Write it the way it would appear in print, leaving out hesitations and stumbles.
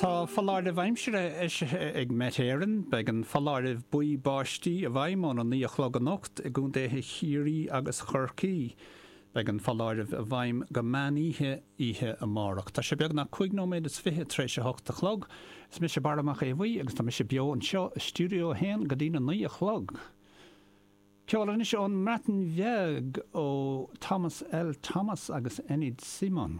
Tá foláireamh aimsire eisithe ag Met Éireann. Beidh an foláireamh buí báistí i bhfeidhm óna 9 a chlog anocht i gcontaetha Chiarraí agus Chorcaí. Beidh an foláireamh i bhfeidhm go meán oíche, oíche amárach. Tá sé beagnach 5 nóiméad is 20 tar éis a 8 a chlog. Is mise Barra Mac Aodha Bhuí agus tá mise beo anseo i Stiúideo 1 go dtí na 9 a chlog. Ceol anois ón mBreatain Bheag ó Thomas L Thomas agus Enid Simon.